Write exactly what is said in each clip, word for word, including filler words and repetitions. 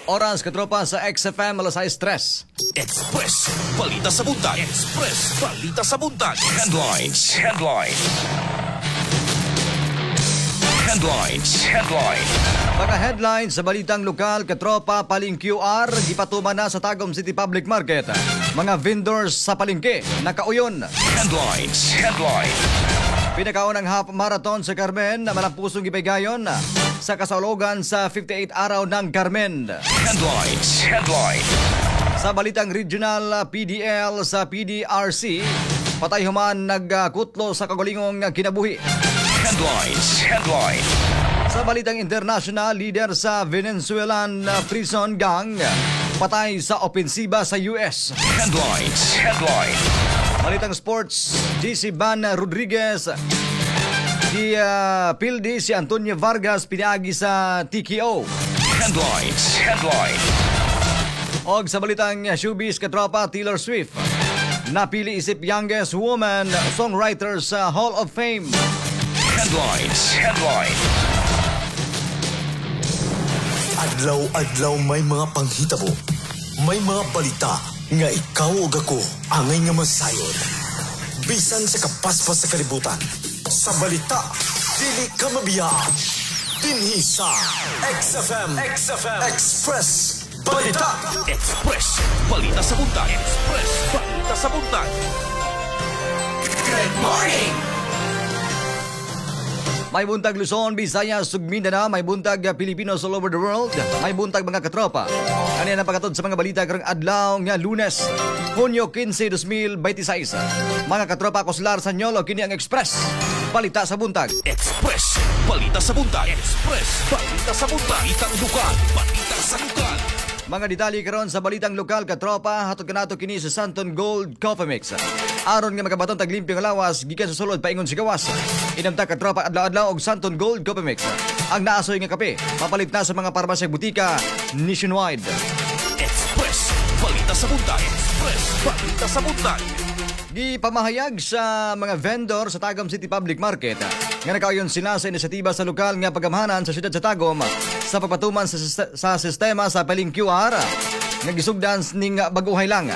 Oras, katropa, sa X F M, alas sais tres. Express Balita sa Buntag. Express Balita sa Buntag. Headlines. Headline. Headlines. Headline. Mga headlines sa balitang lokal, katropa, Paling Q R, gipatuman na sa Tagum City Public Market. Mga vendors sa palengke nakauyon. Headlines. Headline. Pinakaunang half marathon sa Carmen na malampusong gipahigayon sa kasaulogan sa fifty-eight araw ng Carmen. Headlines. Headline. Sa balitang regional, P D L sa P D R C, patay human nagkutlo sa kagalingong kinabuhi. Headlines. Headline. Sa balitang international, leader sa Venezuelan prison gang patay sa opensiba sa U S. Headlines. Headline. Balitang sports, J C Van Rodriguez di uh, pildi si Antonio Vargas pinaagi sa T K O. Headlines. Headline. Og sa balitang showbiz, katropa, Taylor Swift napili isip youngest woman songwriter sa Hall of Fame. Headlines. Headline. Adlaw-adlaw may mga panghitabo. May mga balita nga ikaw ug ako angay nga masayod. Bisan sa kapaspas sa kalibutan. Sa balita, dili ka mabiyaan. Dinhi sa X F M, X F M Express Balita. Express Balita sa Buntag. Express Balita sa Buntag. Good morning. May buntag Luzon, Visayas ug Mindanao, may buntag Pilipinos all over the world, may buntag mga katropa. Ano ang paghatod sa mga balita karong adlaw nga Lunes, Hunyo kinse, dalawang libo bente sais. Mga katropa, ako si Lars Sanyolo, kini ang Express Balita sa Buntag. Express Balita sa Buntag. Express Balita sa Buntag. Balitang lokal, balita sa lokal. Mga detalye karon sa balitang lokal, katropa, hatod kanato kini sa Santon Gold Coffee Mix. Aron nga makabaton tag limpyo nga lawas gikan sa sulod paingon sa gawas. Inamta, katropa, adlaw-adlaw og Santon Gold Coffee Mix. Ang naasoy nga kape, mapalit na sa mga parmasya, butika nationwide. Express Balita sa Buntag. Express Balita sa Buntag. Gipamahayag sa mga vendor sa Tagum City Public Market nga nakauyon sila sa inisyatiba sa lokal nga pagamhanan sa siyudad sa Tagum sa pagpatuman sa, sa sistema sa Paling Q R nga gisugdan ning baguhay lang.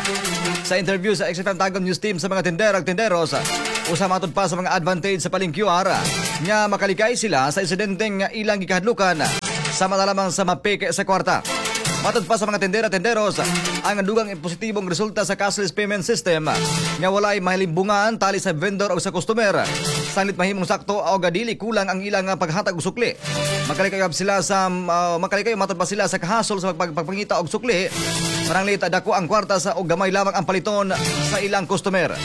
Sa interview sa X F M Tagum News Team sa mga tendero ug tenderos, usa matod pa sa mga advantage sa Paling Q R nga makalikay sila sa insidenteng ilang gikahadlukan sama na lamang sa mapeke sa kwarta. Matod pa sa mga tendera tenderos, ang dugang positibong resulta sa cashless payment system nga walay mahilimbungan tali sa vendor o sa customer. Sanglit mahimong sakto o dili kulang ang ilang paghatag og sukli. Makalikay sila sa uh, makalikay matod pa sila sa kahasol sa pagpangita og sukli. Pananglit dako ang kwarta sa og gamay lamang ang paliton sa ilang customer.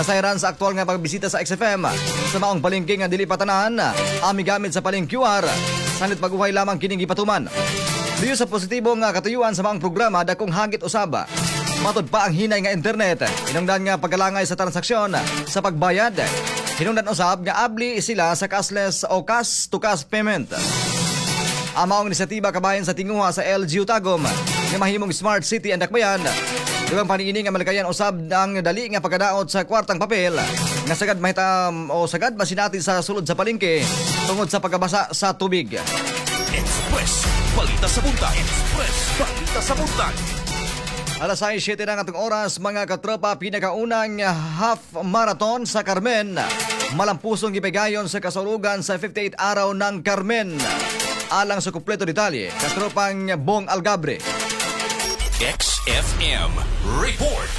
Nasayran sa aktual nga pagbisita sa X F M sa maong palengke nga dili patanan ami gamit sa Paling Q R. Sanglit baguhay lamang kining gipatuman. Luyo sa positibo nga katuyuan sa maong programa, dakong hagit usaba, matod pa, ang hinay nga internet. Hinungdan nga pagkalangay sa transaksyon sa pagbayad. Hinungdan usab nga abli sila sa cashless o cash to cash payment. Ang maong inisyatiba kabahin sa tinguha sa L G U Tagum nga mahimong smart city ang dakbayan. Dugang paniini nga malikayan usab ang dali nga pagkadaot sa kwartang papel nga sagad mahita o sagad masinati sa sulod sa palengke tungod sa pagkabasa sa tubig. Express Balita sa Buntag. Express Balita sa Buntag. Alas sais, siyete na ang atong oras, mga katropa, pinakaunang half marathon sa Carmen malampusong gipahigayon sa kasaulugan sa fifty-eight araw ng Carmen. Alang sa kumpleto detalye, katropang Bong Algabre. X F M Report.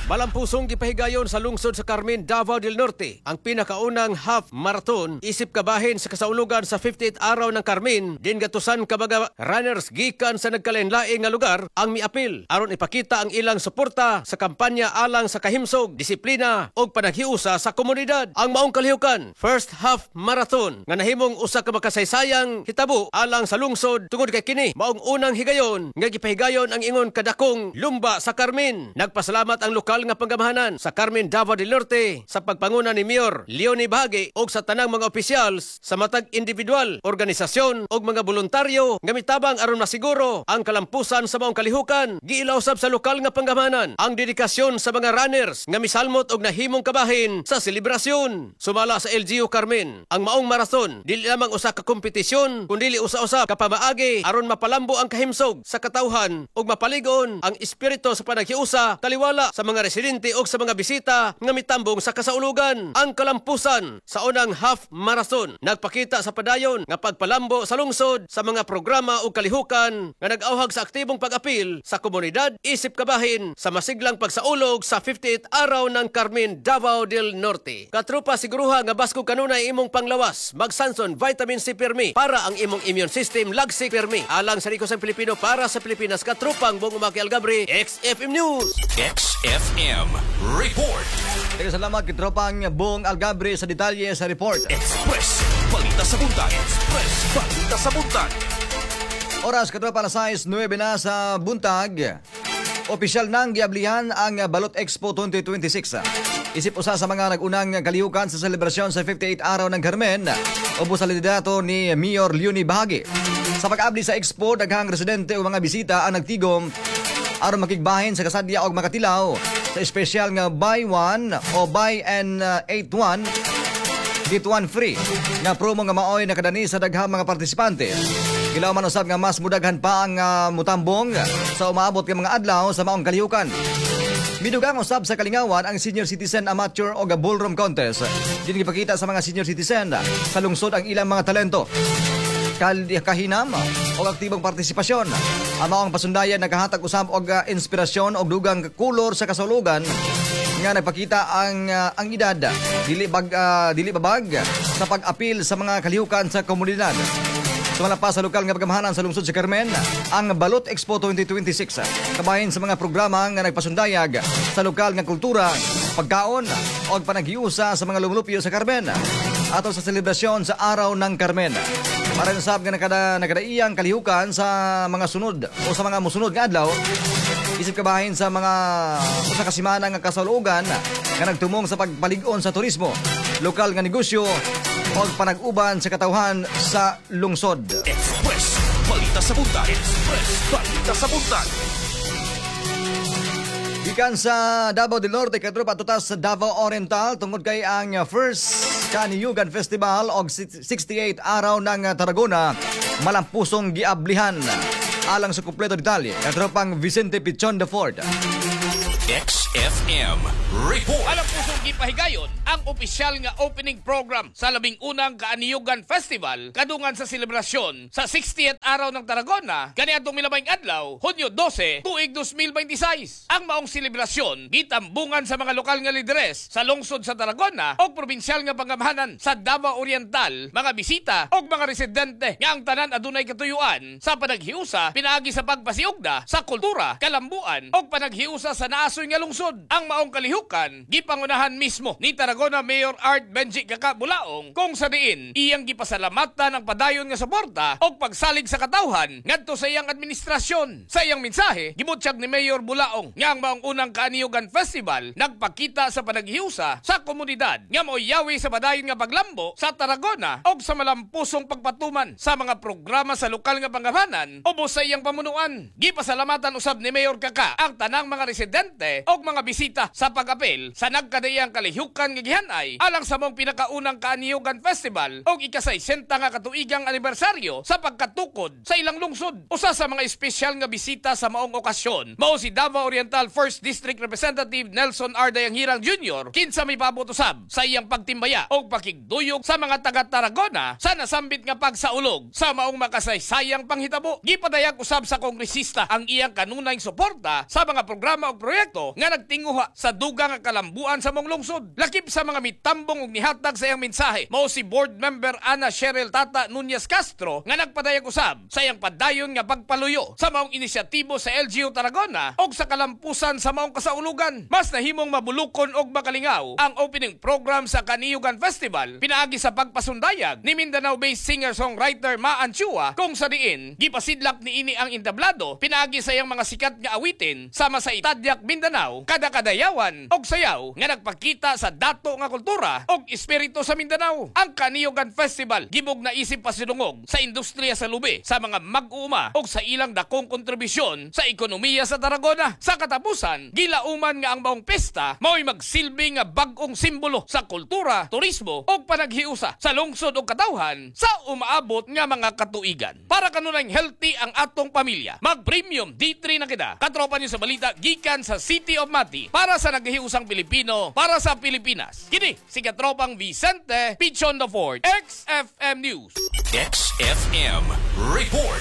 Malampusong gipahigayon sa lungsod sa Carmen, Davao del Norte ang pinakaunang half marathon isip kabahin sa kasaulugan sa fifty-eight araw ng Carmen, din gatusan ka mga runners gikan sa nagkalain-laing nga lugar ang miapil aron ipakita ang ilang suporta sa kampanya alang sa kahimsog, disiplina ug panaghiusa sa komunidad. Ang maong kalihukan, first half marathon nga nahimong usa ka makasaysayang hitabo alang sa lungsod tungod kay kini maong unang higayon nga gipahigayon ang ingon kadakong lumba sa Carmen. Nagpasalamat ang lokal lokal nga panggamhanan sa Carmen, Davao del Norte sa pagpanguna ni Mayor Leonie Bahague ug sa tanang mga opisyals sa matag individual, organisasyon ug mga voluntaryo nga mitabang aron masiguro ang kalampusan sa maong kalihukan. Giila usab sa lokal nga panggamhanan ang dedikasyon sa mga runners nga misalmot og nahimong kabahin sa selebrasyon. Sumala sa L G U Carmen, ang maong marathon dili lamang usa ka kompetisyon kundi usa-usa ka pamaagi aron mapalambo ang kahimsog sa katawhan ug mapaligon ang espiritu sa panaghiusa taliwala sa mga residente ug sa mga bisita nga mitambong sa kasaulugan. Ang kalampusan sa unang half marathon nagpakita sa padayon nga pagpalambo sa lungsod sa mga programa ug kalihukan nga nag-awhag sa aktibong pag-apil sa komunidad isip kabahin sa masiglang pagsaulog sa fifty-eighth araw ng Carmen, Davao del Norte. Katropa, siguruha nga baskog kanunay imong panglawas. Mag-Sanson Vitamin C Pirmi para ang imong immune system lagsik pirmi. Alang sa Rikosang Pilipino para sa Pilipinas, katropang Bong Umaki Algabre, X F M News. X F M Report. Daghang salamat kitropang Bong Algabre sa detalye sa report. Express Balita sa Buntag. Express Balita sa Buntag. Oras, katropa, alas sais nuwebe na sa buntag. Opisyal nang giablihan ang Balot Expo twenty twenty-six. Isip usa sa mga nag-unang kalihukan sa selebrasyon sa fifty-eight araw ng Carmen, ubos sa liderato ni Mayor Leonie Bahague. Sa pag-abli sa expo, daghang residente o mga bisita ang nagtigom aron makigbahin sa kasadya og makatilaw sa espesyal nga buy one o buy and uh, eight one get one free nga promo nga maoy nakadani sa daghang mga partisipante. Gilaw man usab nga mas mudaghan pa ang uh, mutambong sa umaabot nga mga adlaw sa maong kalihukan. Midugang usab sa kalingawan ang Senior Citizen Amateur o Ballroom Contest. Din gipakita sa mga senior citizen sa lungsod ang ilang mga talento, kal kahinam o aktibong partisipasyon. Ang maong pasundayan nakahatag usab og uh, inspirasyon og dugang kolor sa kasaulugan nga nagpakita ang uh, ang edad dili bag uh, dili babag sa pag-apil sa mga kalihukan sa komunidad. Sumala pa sa lokal nga pagamahanan sa lungsod sa Carmen, ang Balot Expo twenty twenty-six kabahin sa mga programa nga nagpasundayag sa lokal nga kultura, pagkaon o panaghiusa sa mga lumulupyo sa Carmen ato sa selebrasyon sa Araw ng Carmen. Para usab nga nakada, nakadaiyang kalihukan sa mga sunod o sa mga musunod nga adlaw isip kabahin sa mga usa ka semana nga kasaulugan nga nagtumong sa pagpalig-on sa turismo, lokal nga negosyo o panag-uban sa katawhan sa lungsod. Express Balita sa Buntag. Express Balita sa Buntag. Gikan sa Davao del Norte, katropa, tutas sa Davao Oriental tungod kay ang first Kaniyugan Festival og sixty-eight araw ng Tarragona malampusong giablihan. Alang sa kumpleto detalye, katropang Vicente Pichon the Fourth. X F M Report. Malampusong gipahigayon ang opisyal nga opening program sa labing unang Kaaniyugan Festival kadungan sa selebrasyon sa sixtieth araw ng Tarragona kaniadtong milabayng adlaw, Hunyo dose, tuig dos mil beinte sais. Ang maong selebrasyon gitambungan sa mga lokal nga lideres sa lungsod sa Tarragona o probinsyal nga panggamhanan sa Davao Oriental, mga bisita o mga residente nga ang tanan adunay katuyuan sa panaghiusa pinaagi sa pagpasiugda sa kultura, kalambuan o panaghiusa sa naasoy nga lungsod. Ang maong kalihukan gipangunahan mismo ni Tarragona Mayor Art Benji Kaka Bulaong kung sa diin iyang gipasalamatan ang padayon nga suporta o pagsalig sa katawhan ngadto sa iyang administrasyon. Sa iyang mensahe, gibutyag ni Mayor Bulaong nga ang maong unang Kaaniyugan Festival nagpakita sa panaghiusa sa komunidad nga mao'y yawi sa padayon nga paglambo sa Tarragona og sa malampusong pagpatuman sa mga programa sa lokal nga panggamhanan ubos sa iyang pamunuan. Gipasalamatan usab ni Mayor Kaka ang tanang mga residente og mga bisita sa pag-apil sa nagkadaiyang kalihukan nga gihanay alang sa maong pinakaunang Kaaniyugan Festival og ikasaysenta nga katuigang anibersaryo sa pagkatukod sa ilang lungsod. Usa sa mga espesyal nga bisita sa maong okasyon mao si Davao Oriental First District Representative Nelson R. Dayanghirang Junior kinsa may paabot usab sa iyang pagtimbaya og pakigduyog sa mga taga Tarragona sa nasambit nga pagsaulog sa maong makasaysayang panghitabo. Gipadayag usab sa kongresista ang iyang kanunayng suporta sa mga programa ug proyekto nga nagtinguha sa dugang nga kalambuan sa maong lungsod. Lakip sa mga mitambong ug nihatag sa iyang mensahe mao si board member Ana Cheryl Tata Nunez Castro nga nagpadayag usab sa iyang padayon nga pagpaluyo sa maong inisyatibo sa L G U Tarragona ug sa kalampusan sa maong kasaulugan. Mas nahimong mabulukon og makalingaw ang opening program sa Kaniyugan Festival pinaagi sa pagpasundayag ni Mindanao-based singer-songwriter Maan Chua kung sa diin gipasidlak niini ang entablado pinaagi sa iyang mga sikat nga awitin sama sa Itadyak Mindanao. Mindanao, kada kadayawan og sayaw nga nagpakita sa dato nga kultura og espiritu sa Mindanao. Ang Kaniyogan Festival gibog na isip pasidungog sa industriya sa lubi, sa mga mag-uuma og sa ilang dakong kontribusyon sa ekonomiya sa Tarragona. Sa katapusan, gilauman nga ang maong pesta mao'y magsilbi nga bag-ong simbolo sa kultura, turismo ug panaghiusa sa lungsod ug katawhan sa umaabot nga mga katuigan. Para kanunayng healthy ang atong pamilya, mag-premium D three na kita. Katropa niyo sa balita gikan sa City of Mati, para sa naghiusang Pilipino, para sa Pilipinas. Kini si katropang Vicente Pichon the Ford, X F M News. X F M Report.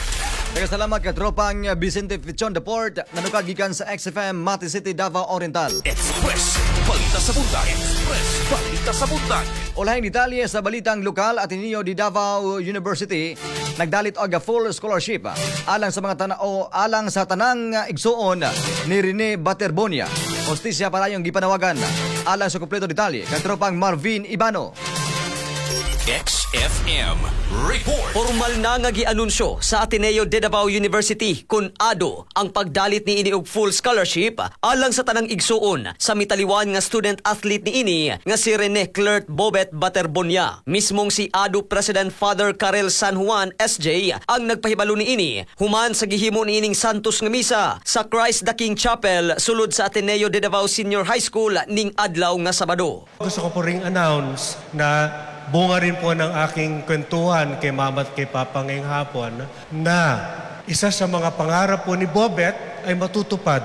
Salamat, katropang Vicente Pichon the Port, nanukad gikan sa X F M Mati City, Davao Oriental. Express Balita sa Buntag. Express Balita sa Buntag. Ulahing detalye sa balitang lokal, Ateneo de Davao University nagdalit og full scholarship alang sa mga tana o alang sa tanang igsuon ni Rene Baterbonia. Hustisya palayong gipanawagan. Alang sa kompleto detalye, katropang Marvin Ibano. X F M Report. Formal na nga gianunsyo sa Ateneo de Davao University kun A D U ang pagdalit ni ini og full scholarship alang sa tanang igsuon sa mitaliwan nga student athlete ni ini nga si Rene Clert Bobet Baterbonia. Mismong si A D U President Father Karel San Juan S J ang nagpahibalo ni ini human sa gihimo ni ining Santos nga misa sa Christ the King Chapel sulod sa Ateneo de Davao Senior High School ning adlaw nga Sabado. Gusto ko po ring announce na bunga rin po ng aking kwentuhan kay Mama at kay Papa ngayong hapon na isa sa mga pangarap po ni Bobet ay matutupad.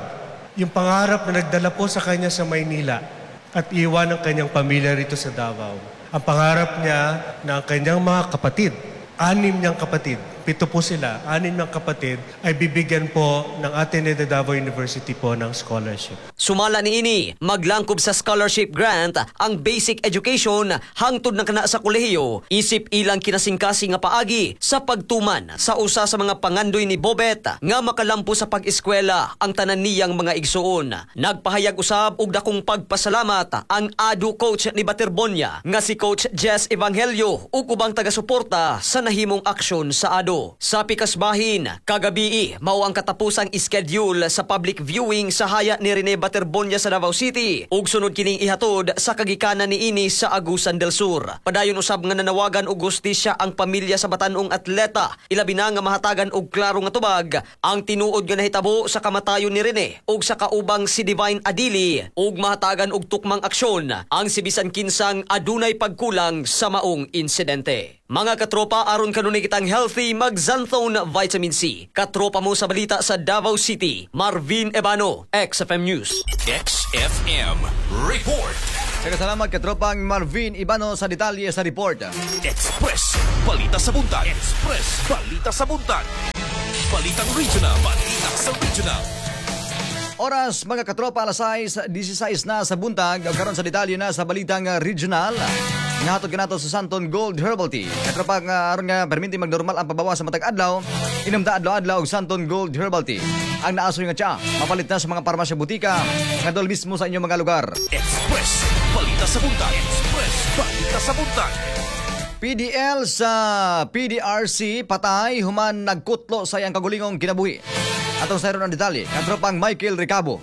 Yung pangarap na nagdala po sa kanya sa Maynila at iwan ang kanyang pamilya rito sa Davao. Ang pangarap niya na ang kanyang mga kapatid, anim niyang kapatid, pito po sila, anim niyang kapatid, ay bibigyan po ng Ateneo de Davao University po ng scholarship. Sumala ni ini, maglangkob sa scholarship grant ang basic education hangtod na kana sa kolehiyo, isip ilang kinasingkasing nga paagi sa pagtuman sa usa sa mga pangandoy ni Bobet nga makalampo sa pag-eskwela ang tanan niyang mga igsuon. Nagpahayag usab og dakong pagpasalamat ang A D U coach ni Baterbonia nga si Coach Jess Evangelio ug ubang taga-suporta sa nahimong aksyon sa A D U. Sa pikas bahin, kagabii mao ang katapusang schedule sa public viewing sa haya ni Rene Baterbonia sa Davao City ug sunod kining ihatod sa kagikanan ni ini sa Agusan del Sur. Padayon usab nga nanawagan og hustisya ang pamilya sa batanong atleta, ilabi na nga mahatagan og klaro nga tubag ang tinuod nga nahitabo sa kamatayon ni Rene ug sa kaubang si Divine Adili ug mahatagan og tukmang aksyon ang si bisan kinsang adunay pagkulang sa maong insidente. Mga katropa, aron kanunay kitang healthy, mag-Xanthone Vitamin C. Katropa mo sa balita sa Davao City, Marvin Ebano, X F M News. X F M Report. Salamat, katropang Marvin Ibano, sa detalye sa report. Express Balita sa Buntag. Express Balita sa Buntag. Balitang Regional. Balita sa Regional. Oras, mga katropa, alas sais, sixteen na sa buntag, karon sa detalye na sa balitang uh, regional. Nga hatod kanato sa Santon Gold Herbal Tea. Katropa nga aron nga perminti magnormal ang pabawa sa matag adlaw, inom ta adlaw-adlaw og Santon Gold Herbal Tea. Ang naasoy nga tsaa, mapalit na sa mga parmasya, butika, nga dol mismo sa inyong mga lugar. Express Balita sa Buntag. Express Balita sa Buntag. P D L sa P D R C patay human nagkutlo sa iyang kagulingong kinabuhi. Atong sayron ang detalye, katropang Michael Ricabo.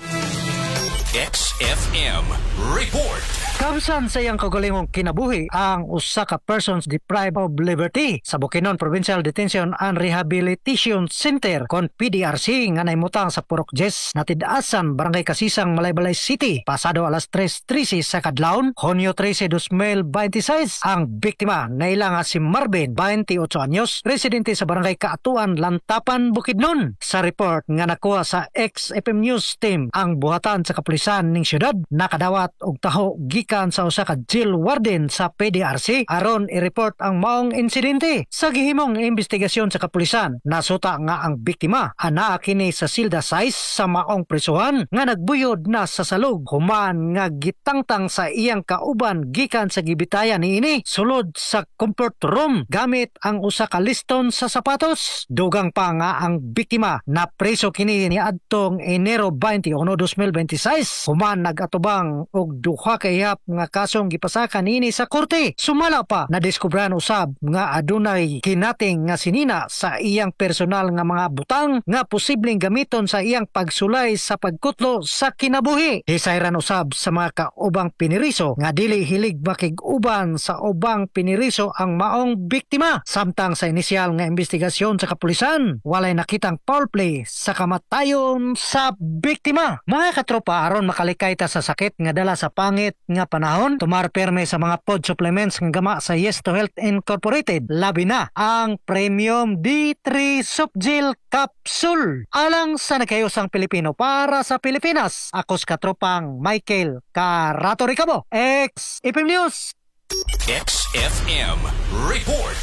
X F M Report. Kamsan sa iyang kaugalingong kinabuhi ang usa ka persons deprived of liberty sa Bukidnon Provincial Detention and Rehabilitation Center kon P D R C nga naimutang sa Purok Jes, Natid-asan, Barangay Kasisang, Malaybalay City pasado alas tres trese sa kadlawon, Hunyo trese, dalawang libo dalawampu't sais. Ang biktima naila nga si Marvin, twenty-eight anyos, residente sa Barangay Kaatuan, Lantapan, Bukidnon. Sa report nga nakuha sa X F M News Team, ang buhatan sa kapulisan ning syudad nakadawat og taho gikan sa usa ka jail warden sa P D R C aron i-report ang maong insidente. Sa gihimong investigasyon sa kapulisan, nasuta nga ang biktima anaa kini sa silda sais sa maong prisuhan nga nagbuyod na sa salog human nga gitangtang sa iyang kauban gikan sa gibitayan niini sulod sa comfort room gamit ang usa ka liston sa sapatos. Dugang pa nga ang biktima na preso kini niadtong Enero twenty-one, twenty twenty-six human nagatubang og duha ka ihap. cover up nga kasong gipasaka niini sa korte. Sumala pa, nadiskubran usab nga adunay kinating nga sinina sa iyang personal nga mga butang nga posibleng gamiton sa iyang pagsulay sa pagkutlo sa kinabuhi. Hisayran usab sa mga kaubang piniriso nga dili hilig makig-uban sa ubang piniriso ang maong biktima. Samtang sa inisyal nga investigasyon sa kapulisan, walay nakitang foul play sa kamatayon sa biktima. Mga katropa, aron makalikay ta sa sakit nga dala sa pangit nga panahon, tumar perme sa mga food supplements nga gama sa Yes to Health Incorporated. Labi na ang Premium D three Softgel Capsule. Alang sa nagkayosang Pilipino para sa Pilipinas, ako sa katropang Michael Carato Ricabo, X F M News. X F M Report.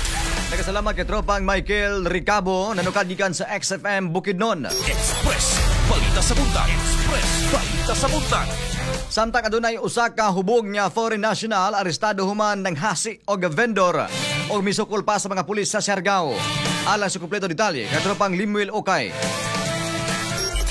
Nagkasalamat kay tropang Michael Ricabo, nanukad gikan sa X F M Bukidnon. Express Balita sa Buntag. Express Balita sa Buntag. Samtang adunay usa ka hubog nga foreign national arestado human ng hasi og vendor og misukol pa sa mga pulis sa Siargao. Alang sa kumpleto detalye, katropang Limuel Okay.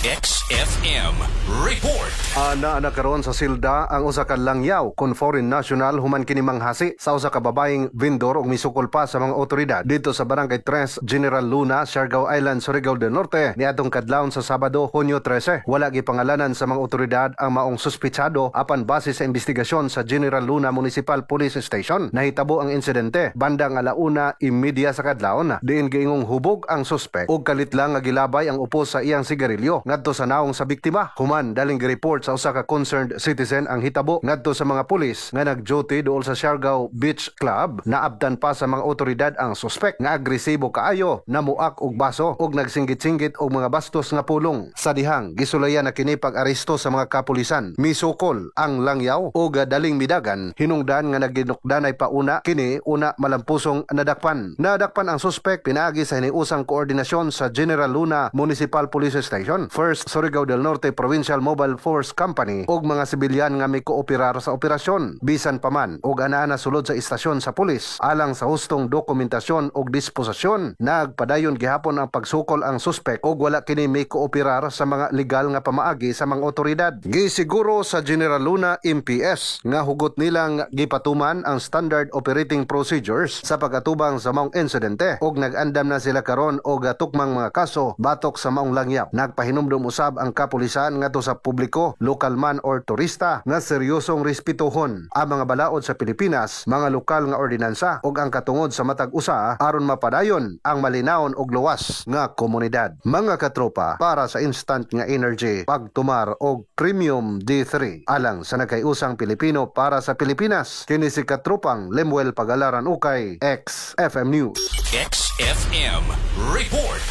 X F M Report. Ana ana karon sa silda ang usa ka langyaw kon foreign national human kini manghasi sa usa ka babaeng vendor ug misukol pa sa mga otoridad dito sa Barangay tres, General Luna, Siargao Island, Surigao del Norte niadtong kadlawon sa Sabado, Hunyo trese. Wala gipangalanan sa mga otoridad ang maong suspitsado, apan base sa investigasyon sa General Luna Municipal Police Station, nahitabo ang insidente bandang alauna imedya sa kadlawon, diin giingong hubog ang suspek ug kalit lang nga gilabay ang upos sa iyang sigarilyo ngadto sa naong sa biktima. Human, daling gi-report sa usa ka concerned citizen ang hitabo ngadto sa mga pulis nga nag-duty duol sa Siargao Beach Club. Naabtan pa sa mga otoridad ang suspek nga agresibo kaayo, namuak og baso ug nagsinggit-singgit og mga bastos nga pulong. Sa dihang gisulayan na kini pag-aresto sa mga kapulisan, misukol ang langyaw ug daling midagan, hinungdan nga naginukdanay pauna kini una malampusong nadakpan. Nadakpan ang suspek pinaagi sa hiniusang koordinasyon sa General Luna Municipal Police Station, First Surigao del Norte Provincial Mobile Force Company ug mga sibilyan nga mikooperar sa operasyon. Bisan paman og anaa sulod sa istasyon sa pulis alang sa hustong dokumentasyon ug disposisyon, nagpadayon gihapon ang pagsukol ang suspek ug wala kini mikooperar sa mga legal nga pamaagi sa mga otoridad. Gisiguro sa General Luna M P S nga hugot nilang gipatuman ang standard operating procedures sa pag-atubang sa maong insidente ug nag-andam na sila karon og tukmang mga kaso batok sa maong langyaw. Nagpahinumdum usab ang kapulisan ngadto sa publiko, lokal man or turista, nga seryosong respetuhon ang mga balaod sa Pilipinas, mga lokal nga ordinansa ug ang katungod sa matag usa aron mapadayon ang malinawon ug luwas nga komunidad. Mga katropa, para sa instant nga energy, pagtumar og Premium D three, alang sa nagkayusang Pilipino para sa Pilipinas. Kini si katropang Lemuel Pagalaran Ukay, X F M News. X F M Report.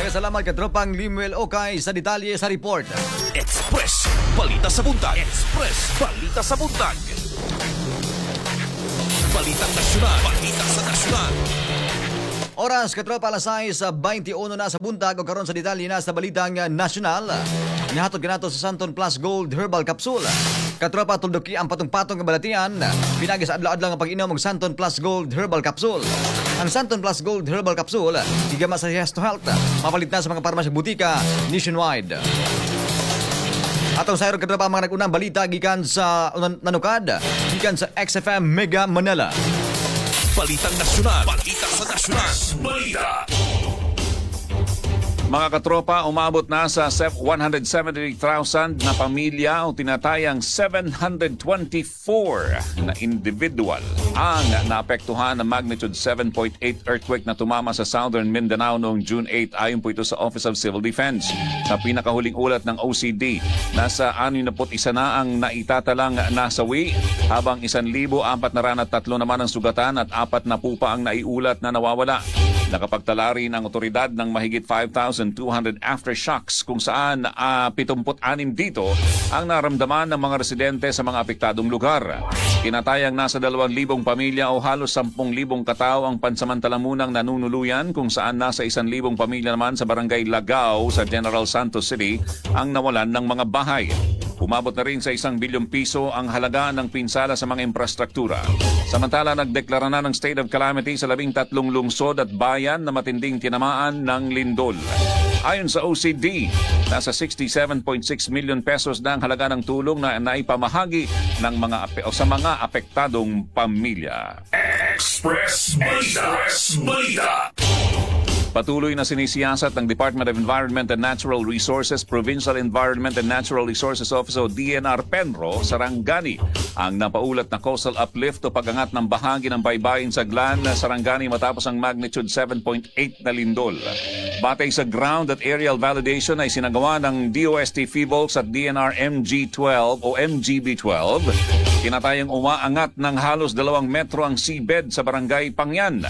Salamat katropang Limuel Okay sa detalye sa report. Express Balita sa Buntag. Express Balita sa Buntag. Balitang Nasyonal. Balita sa Nasyonal. Oras katropa, alas sais sa twenty-one na sa buntag o karon sa detalye na sa Balitang Nasyonal. Nihatod kanato sa Santon Plus Gold Herbal Capsule. Katropa, tulduki ang patong-patong nga balatian pinaagi sa adlaw-adlaw nga pag-inom og Santon Plus Gold Herbal Capsule. Ang Santon Plus Gold Herbal Capsule gigama sa Yes to Health. Mapalit na sa mga parmasya, butika nationwide. Atong sayro, katropa, ang mga nag-unang balita gikan sa nanukad gikan sa X F M Mega Manila. Balitang Nasyonal. Balita sa Nasyonal. Balita. Mga katropa, umabot na sa one hundred seventy thousand na pamilya o tinatayang seven hundred twenty-four na individual ang naapektuhan ng magnitude seven point eight earthquake na tumama sa southern Mindanao noong June eight, ayon po ito sa Office of Civil Defense. Sa pinakahuling ulat ng O C D, nasa siyamnapu't isa na ang naitatalang nasawi habang isang libo apat na raan at tatlo naman ang sugatan at apat na pa ang naiulat na nawawala. Nakapagtala rin ang otoridad ng mahigit five thousand two hundred aftershocks kung saan uh, pitungpu't anim dito ang naramdaman ng mga residente sa mga apektadong lugar. Tinatayang nasa dalawang libong pamilya o halos sampung libong katao ang pansamantala munang nanunuluyan, kung saan nasa isang libong pamilya naman sa Barangay Lagao sa General Santos City ang nawalan ng mga bahay. Umabot na rin sa isang bilyong piso ang halaga ng pinsala sa mga imprastruktura. Samantala, nagdeklara na ng state of calamity sa labing tatlong lungsod at bayan na matinding tinamaan ng lindol. Ayon sa O C D, nasa sixty-seven point six million pesos na ang halaga ng tulong na naipamahagi ng mga ape- o sa mga apektadong pamilya. Express Balita. Express Balita. Patuloy na sinisiyasat ng Department of Environment and Natural Resources, Provincial Environment and Natural Resources Office o D E N R Penro, Sarangani, ang napaulat na coastal uplift o pag-angat ng bahagi ng baybayin sa Glan, Sarangani matapos ang magnitude seven point eight na lindol. Batay sa ground at aerial validation ay sinagawa ng D O S T Phivolcs at D E N R M G twelve o M G B twelve, tinatayang umaangat ng halos dalawang metro ang seabed sa Barangay Pangyan.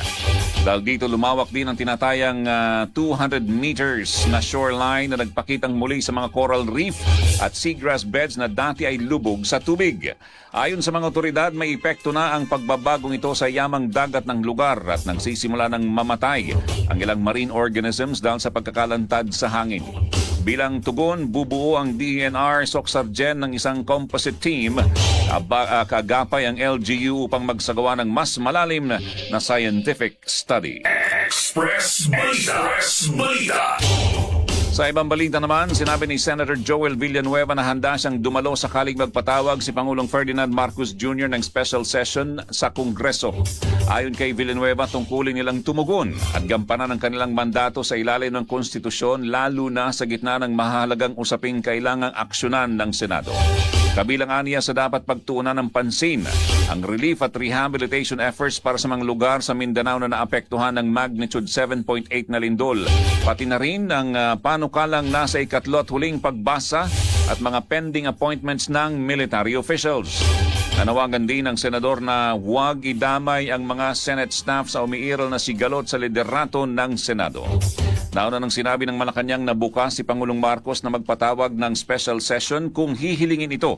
Dahil dito, lumawak din ang tinatayang ah, two hundred meters na shoreline na nagpakitang muli sa mga coral reef at seagrass beds na dati ay lubog sa tubig. Ayon sa mga otoridad, may epekto na ang pagbabagong ito sa yamang dagat ng lugar at nagsisimula ng mamatay ang ilang marine organisms dahil sa pagkakalantad sa hangin. Bilang tugon, bubuo ang D E N R Soccsksargen ng isang composite team aba, ah, kaagapay ang L G U upang magsagawa ng mas malalim na, na scientific study. Express Balita. Express Balita. Sa ibang balita naman, sinabi ni Senator Joel Villanueva na handa siyang dumalo sakaling magpatawag si Pangulong Ferdinand Marcos Junior ng special session sa Kongreso. Ayon kay Villanueva, tungkulin nilang tumugon at gampanan ang kanilang mandato sa ilalim ng konstitusyon, lalo na sa gitna ng mahalagang usaping kailangang aksyonan ng Senado. Kabilang aniya sa dapat pagtuunan ng pansin ang relief at rehabilitation efforts para sa mga lugar sa Mindanao na naapektuhan ng magnitude seven point eight na lindol. Pati na rin ang uh, panukalang nasa ikatlo at huling pagbasa at mga pending appointments ng military officials. Nanawagan din ng senador na huwag idamay ang mga Senate staff sa umiiral na sigalot sa liderato ng Senado. Nauna nang sinabi ng Malacanang na bukas si Pangulong Marcos na magpatawag ng special session kung hihilingin ito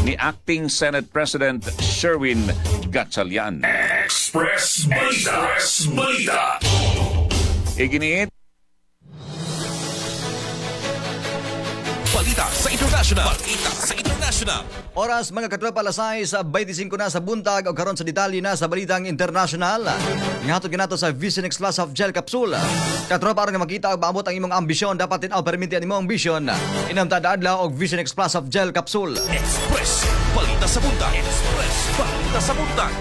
ni Acting Senate President Sherwin Gatchalian. Express Balita. Express Balita. Iginiit Balita sa International. Balita sa International. Oras, mga katropa, alas sais bente singko na sa buntag o karon sa detalye na sa balitang international. Gihatod kanato sa Visionex Plus of Gel Capsule. Katropa, aron nga makita og maabot ang imong ambisyon, dapat tin-aw perminti ang imong ambisyon. Inom tada adlaw og Visionex Plus of Gel Capsule. Express Balita sa Buntag. Express Balita sa Buntag.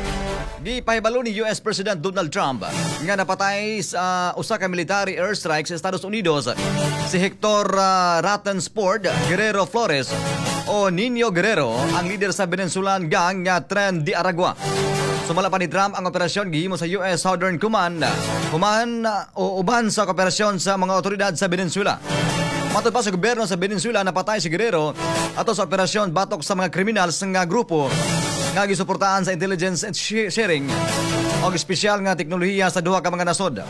Gipahibalo ni U S President Donald Trump nga napatay sa usa ka military airstrike sa Estados Unidos si Hector uh, Rainsford Guerrero Flores o Nino Guerrero, ang leader sa Venezuelan gang nga Tren de Aragua. Sumala pa ni Trump, ang operasyon gihimo sa U S Southern Command human uh, o uban sa kooperasyon sa mga otoridad sa Venezuela. Matod pa sa gobyerno sa Venezuela, napatay si Guerrero ato sa operasyon batok sa mga kriminal sa nga grupo nga gisuportahan sa intelligence and sharing o espesyal nga teknolohiya sa duha ka mga nasod.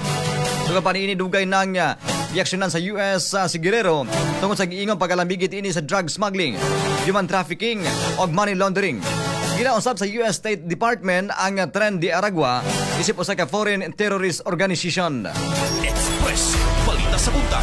Sugod pa niini, dugay nang uh, giaksyonan sa U S uh, si Guerrero tungod sa giingong pagkalambigit ini sa drug smuggling, human trafficking ug money laundering. Ginausab sa U S State Department ang uh, Tren de Aragua isip usa ka foreign terrorist organization. Express Balita sa Buntag.